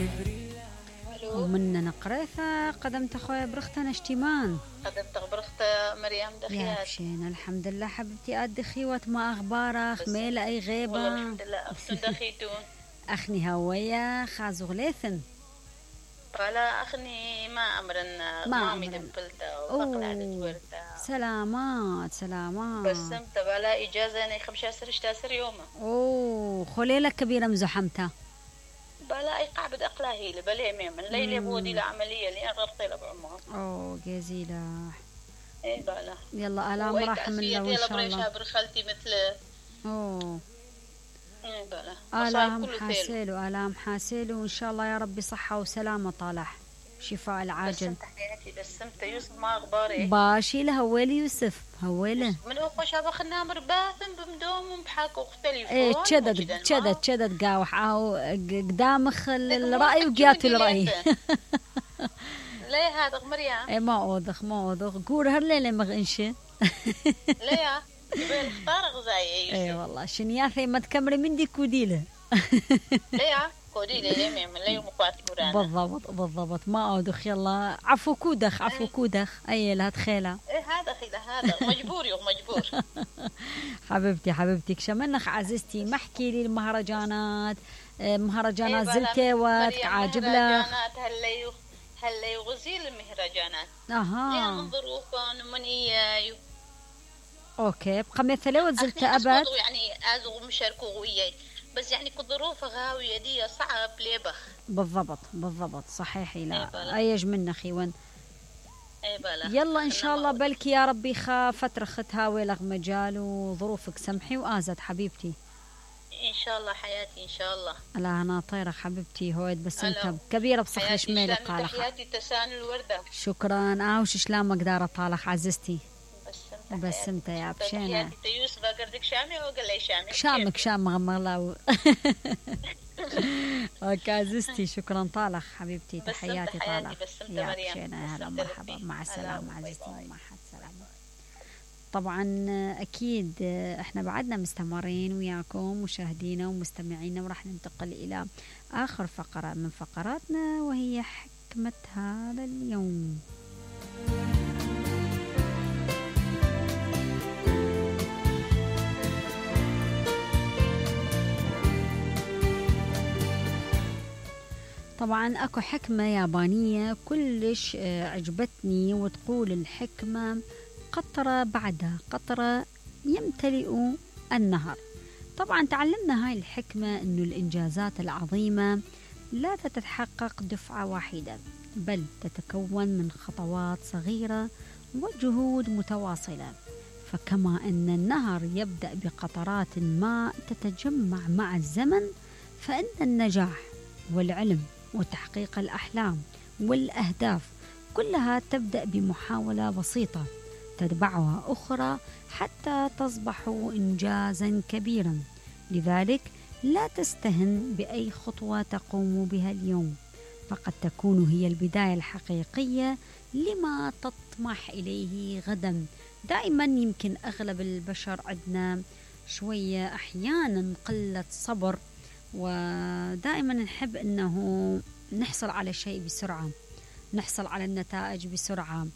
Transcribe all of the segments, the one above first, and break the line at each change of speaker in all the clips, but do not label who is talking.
الو.
ومن نقريثة قدمت أخويا برختنا اشتيمان
قدمت غبرخت مريم
يا
دخيات.
بشين الحمد لله حبيبتي أدي خيوت ما أخبارك ميلة أي غيبة
والله الحمد لله أختن دخيتون.
أخني هوية خازو غليثن
فلا أخني ما أمرن
ما
مامي
أمرن.
دبلتا وبقلع دتورتا
سلامات سلامات
بس سمت بلا إجازة أنا 15 يوم
أوه خليلة كبيرة مزحمتها
بلا أي قاعد أقلاهي لبلي من ليلة بودي لعملية لأن غرقي لبعمها.
أوه جزيلة
إيه بلا
يلا ألام رحم الله وإن شاء الله.
برخالتي مثل
أوه
إيه بلا
آلام حاسيلو آلام حاسيلو وإن شاء الله يا ربي صحة وسلامة طالح شفاء العاجل.
بس سمت يوسف ما أخباري
باشي لهويلي يوسف هويله
من أخو شابخ النامر باثم بمدوم بحاك وختلف
ايه تشدد قاوح او قدامخ الرأي وجات الرأي
ليه هذا مريم
ايه ما اوضخ قول هالليلة مغنشة
ليه يبي اختار غزاي
ايه والله شنياثي ما تكمري من دي كوديله
ليه كوديله ليه من ليه مقاط قرانا
بالضبط ما اوضخ يلا عفو كودخ اي لا تخيله
ايه هذا خيله هذا مجبور
حبيبتي كشمنخ عزيزتي ما احكي لي المهرجانات مهرجانات زلتيوات عاجب لك
هلا يغزيل المهرجانات
اها
ظروفا من اياي
اوكي بقى مثلا وزلت ابد
يعني ازغ مشاركوا وياي بس يعني كظروف غاويه دي صعب ليبخ
بالضبط صحيحي لا ايج من خيون
بلا.
يلا ان شاء الله بلكي يا ربي فتره ختها ويلغ مجال وظروفك سمحي وازت حبيبتي
ان شاء الله حياتي ان شاء الله.
لا انا طايره حبيبتي هويد بس انت كبيره بصخر شميله قالك
حياتي تسان الورده
شكرا وش شلون مقدار طالح عززتي بس انت يا بشينا
حياتي يوسف قردك شامي وقال لي شامي
شام غمرلاو اوكي عزيزتي شكرا طالح حبيبتي تحياتي طالح يا بشينا هلا مرحبا مع السلامه عزيزتي مع السلامه. طبعا اكيد احنا بعدنا مستمرين وياكم مشاهدينا ومستمعينا وراح ننتقل الى اخر فقره من فقراتنا وهي حكمه هذا اليوم. طبعا اكو حكمة يابانية كلش عجبتني وتقول الحكمة قطرة بعدها قطرة يمتلئ النهر. طبعا تعلمنا هاي الحكمة انه الانجازات العظيمة لا تتحقق دفعة واحدة بل تتكون من خطوات صغيرة وجهود متواصلة. فكما ان النهر يبدأ بقطرات ماء تتجمع مع الزمن فإن النجاح والعلم وتحقيق الأحلام والأهداف كلها تبدأ بمحاولة بسيطة تتبعها أخرى حتى تصبح إنجازا كبيرا. لذلك لا تستهن بأي خطوة تقوم بها اليوم فقد تكون هي البداية الحقيقية لما تطمح إليه غدا. دائما يمكن أغلب البشر عندنا شوية أحيانا قلة صبر ودائما نحب أنه نحصل على شيء بسرعة نحصل على النتائج بسرعة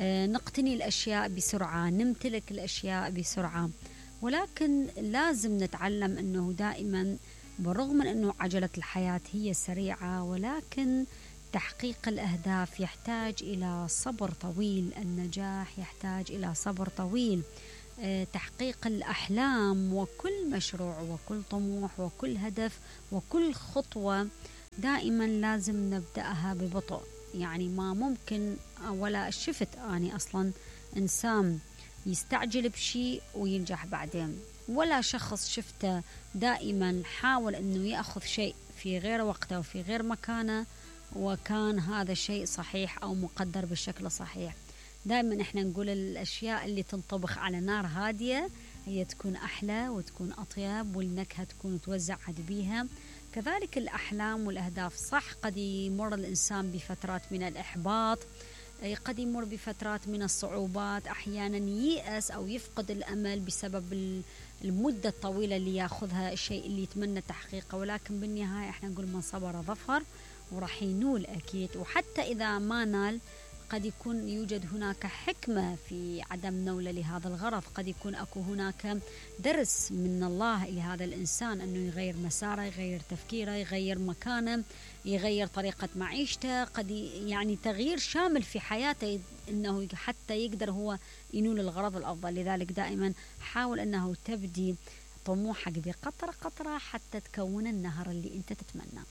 نقتني الأشياء بسرعة نمتلك الأشياء بسرعة. ولكن لازم نتعلم أنه دائما بالرغم من أنه عجلة الحياة هي سريعة ولكن تحقيق الأهداف يحتاج إلى صبر طويل. النجاح يحتاج إلى صبر طويل. تحقيق الأحلام وكل مشروع وكل طموح وكل هدف وكل خطوة دائما لازم نبدأها ببطء. يعني ما ممكن ولا شفت أنا أصلا إنسان يستعجل بشيء وينجح بعدين ولا شخص شفته دائما حاول أنه يأخذ شيء في غير وقته وفي غير مكانه وكان هذا الشيء صحيح أو مقدر بالشكل صحيح. دائما احنا نقول الأشياء اللي تنطبخ على نار هادية هي تكون أحلى وتكون أطيب والنكهة تكون توزع بيها. كذلك الأحلام والأهداف صح قد يمر الإنسان بفترات من الإحباط قد يمر بفترات من الصعوبات أحيانا ييأس أو يفقد الأمل بسبب المدة الطويلة اللي يأخذها الشيء اللي يتمنى تحقيقه. ولكن بالنهاية احنا نقول من صبر ظفر وراح ينول أكيد. وحتى إذا ما نال قد يكون يوجد هناك حكمة في عدم نوله لهذا الغرض، قد يكون أكو هناك درس من الله لهذا الإنسان أنه يغير مساره، يغير تفكيره، يغير مكانه، يغير طريقة معيشته، قد يعني تغيير شامل في حياته أنه حتى يقدر هو ينول الغرض الأفضل. لذلك دائما حاول أنه تبدي طموحك بقطرة قطرة حتى تكون النهر اللي أنت تتمنى.